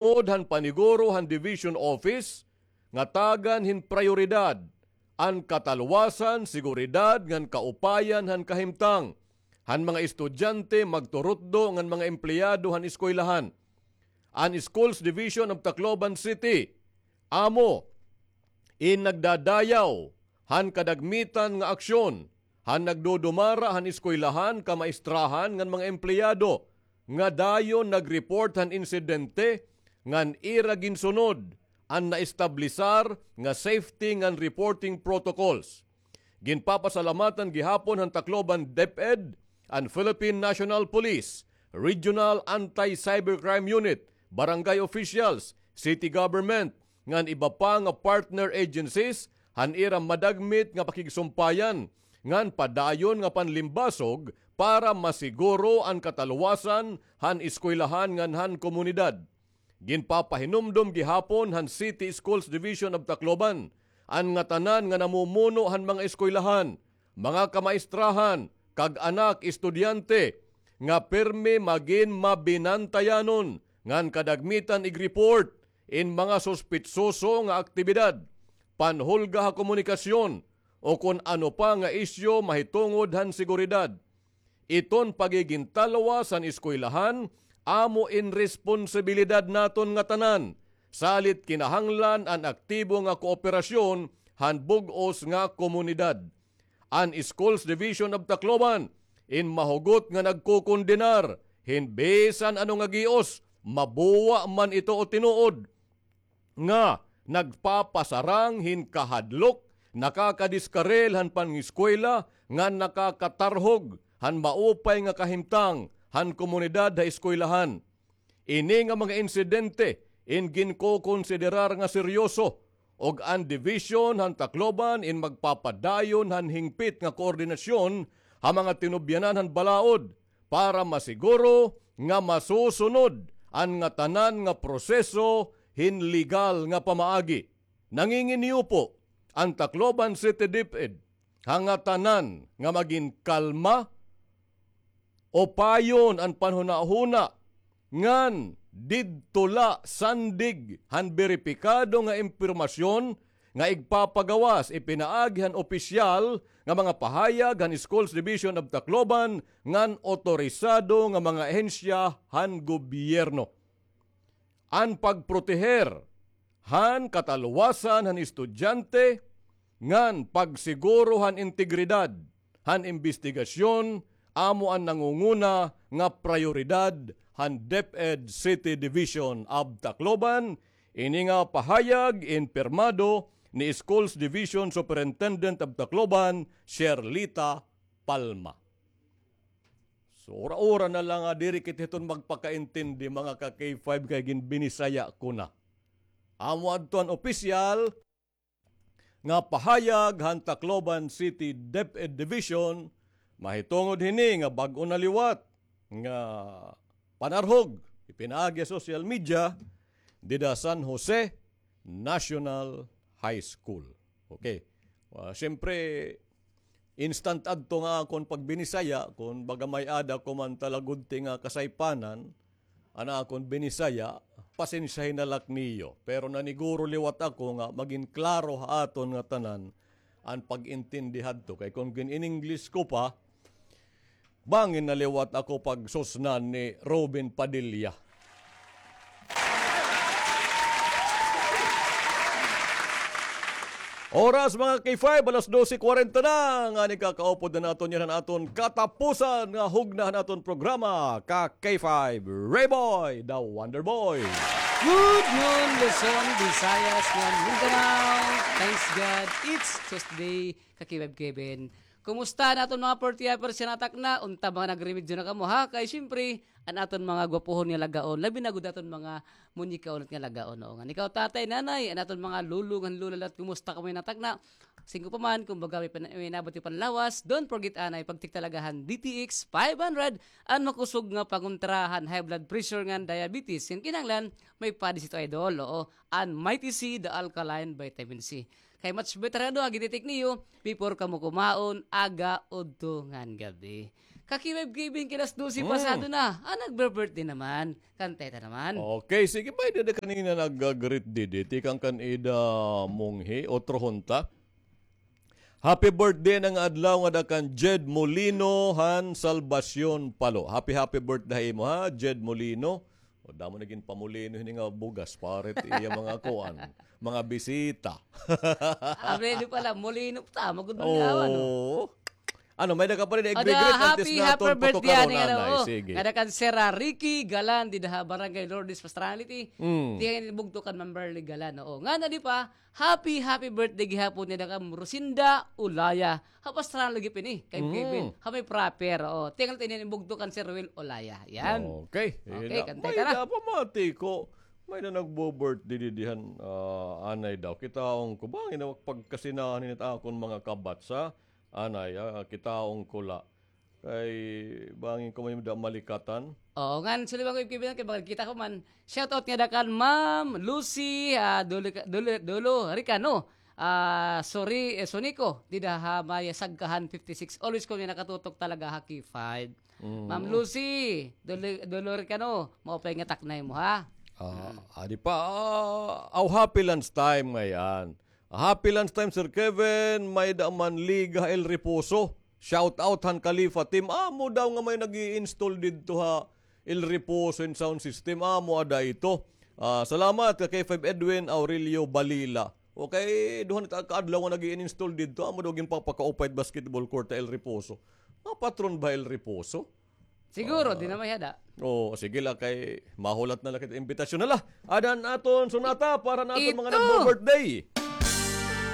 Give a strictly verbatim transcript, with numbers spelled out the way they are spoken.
Tungod han paniguro han Division Office, ngatagan hin prayoridad an katalwasan, seguridad ngan kaupayan han kahimtang han mga estudyante, magturutdo ngan mga empleyado han eskwelahan. An Schools Division of Tacloban City amo in nagdadayaw han kadagmitan nga aksyon han nagdudumara han eskwelahan, kamaestrahan ngan mga empleyado nga dayon nag-report han insidente ngan ira ginsunod an naestablisar nga safety ngan reporting protocols. Ginpapasalamatan gihapon han Tacloban DepEd an Philippine National Police, Regional Anti-Cybercrime Unit, barangay officials, city government, ngan iba pa nga partner agencies han ira madagmit nga pakigsumpayan ngan padayon nga panlimbasog para masiguro an katalwasan han eskwelahan ngan han komunidad. Ginpapahinumdom gihapon han City Schools Division of Tacloban an ngatanan nga namumuno han mga eskwelahan, mga kamaestrahan, kag anak estudyante nga pirmi magin mabinantayanon ngan kadagmitan ig-report in mga suspitsoso nga aktibidad, panhulga ha komunikasyon, o kon ano pa nga isyu mahitungod han seguridad. Iton pagigintalwas han eskwelahan amo in responsibilidad naton ngatanan, salit kinahanglan an aktibo nga kooperasyon han bug-os nga komunidad. An Schools Division of Tacloban in mahugot nga nagkokondenar hin bisan ano nga gios, mabuwa man ito o tinuod, nga nagpapasarang hin kahadlok, nakakadiskaril han pangiskwela, ngan nakakatarhog han maupay nga kahimtang han komunidad ha eskwelahan. Ini nga mga insidente in ginkokonsiderar nga seryoso, ug an dibisyon han Tacloban in magpapadayon han hingpit nga koordinasyon ha mga tinubyanan han balaod para masiguro nga masusunod an ngatanan nga proseso hin legal nga pamaagi. Nanginginiupo an Tacloban City DepEd ha ngatanan nga magin kalma, upayon an panhunahuna, ngan didto la sandig han beripikado nga impormasyon nga igpapagawas ipinaagi han opisyal nga mga pahayag han Schools Division of Tacloban ngan otorisado nga mga ahensya han gobyerno. An pagproteher han katalwasan han estudyante ngan pagsiguro han integridad han imbestigasyon amo an nangunguna nga prayoridad han DepEd City Division of Tacloban. Ini nga pahayag in pirmado ni Schools Division Superintendent of Tacloban, Sherlita Palma. So, ura-ura na la nga diri kita hiton magpakaintindi, mga ka-K five, kay ginbinisaya ko na. Amo adto an opisyal nga pahayag han Tacloban City DepEd Division mahitungod hini nga bag-o na liwat nga panarhog ipinaagi ha social media dida San Jose National High School. Okay. Ah, siyempre, instant adto nga akon pagbinisaya, kon baga may-ada ko man talagudti nga kasaypanan, an akon binisaya, pasensyahi na la niyo. Pero naniguro liwat ako nga magin klaro ha aton nga tanan an pag-intindi hadto. Kay kon gin-in-English ko pa, bangin na liwat ako pagsusnan ni Robin Padilla. Oras, mga K five, alas dose kwarenta na, ngani kakaupod na naton yana han aton katapusan nga hugna han aton programa, ka K five, Rayboy, the Wonder Boy. Good noon, Luzon, Visayas, ngan Mindanao. Thanks God, it's Tuesday, ka K five Kevin. Kumusta an aton mga forty hours nga natakna? Unta mga nagremedyo na kamo, ha? Kay siyempre, an aton mga gwapohon nga lagaon, labi na gud aton mga munyikaon nga lagaon, oo. Ngan ikaw, tatay, nanay, an aton mga lolo ngan lola, lahat, kumusta kamo yana nga takna? Singko pa man, kumbaga, may pan-, may inabot nga panlawas, don't forget, anay, pagtikta la han D T X five hundred, an makusog nga pangontra han high blood pressure ngan diabetes. Ngan kinahanglan, may padi sito, idol, oo. An Mighty C, the alkaline vitamin C. Kay much better ano, agi, titik niyo, before kamo kumaon, aga, udto, ngan gab-i. Ka-K five Kevin, kay alas dose pasado na. Ah, nagbe-birthday naman. Kantay ta naman. Okay, sige, may dada kanina nag-greet didi. Tikang kan Ida Munghi, otro hunta. Happy birthday na nga adlaw ngada kan Jed Molino han Salvacion Palo. Happy, happy birthday ha imo, ha, Jed Molino. O, damo na ginpamulino hini nga bugas, pare, it iya mga kuan, mga bisita. Abreno pala, molino, tama gud man nga, ano? Oo. Ano, may-ada ka pa rin igre-greet antes naton patukan, Nanay. Sige. Ngada kan Sir Ricky Galan, dida ha Barangay Lourdes, Pastrana, Leyte. Tiyan bugto kan Ma'am Beverly Galan, oo. Ngada di pa, happy, happy birthday gihapon ngada kan Rosinda Ulaya. Ha Pastrana lagi pini, kay Kevin. Ha may proper, oo. Tingal tinin bugto kan Sir Will Olaya. Yan. Okay. Okay, kantay ka na. May da pa mati ko. May da nagbo-birthday didihan, ah, anay daw. Kitaon ko, bangin na pagkasinahan nit akon mga kabatsa. Anay, ah, kitaon ko la. Kay bangin ko may da malikatan. Oo, ngan, suliban ko, Kevin, kay bakit kita ko man. Shout out ngada kan Ma'am Lucy, ah, Dolo, Dolo, Dolo Ricano. Ah, sorry, eh, Sonico, dida ha may Sagkahan fifty-six. Always ko niya nakatutok talaga ha K five. Ma'am Lucy, Dolo, Dolo Ricano, maupay nga taknay mo, ha? Ah, adi pa, ah, aw, happy lunch time ngayan. Happy lunch time, Sir Kevin. May da man liga El Reposo. Shout out han Khalifa team. Amo daw nga may nag-i-install didto ha El Reposo in sound system. Amo ada ito. Ah, salamat ka K five Edwin Aurelio Balila. Okay, duha na ta kaadlaw nga nag-i-install didto. Amo daw ginpapakaupay it basketball court ha El Reposo. Mga patron ba El Reposo? Siguro, di na may hada. Oo, sige la kay mahulat na la kita imbitasyon na la. Ada an aton sonata para han aton mga nagbo-birthday.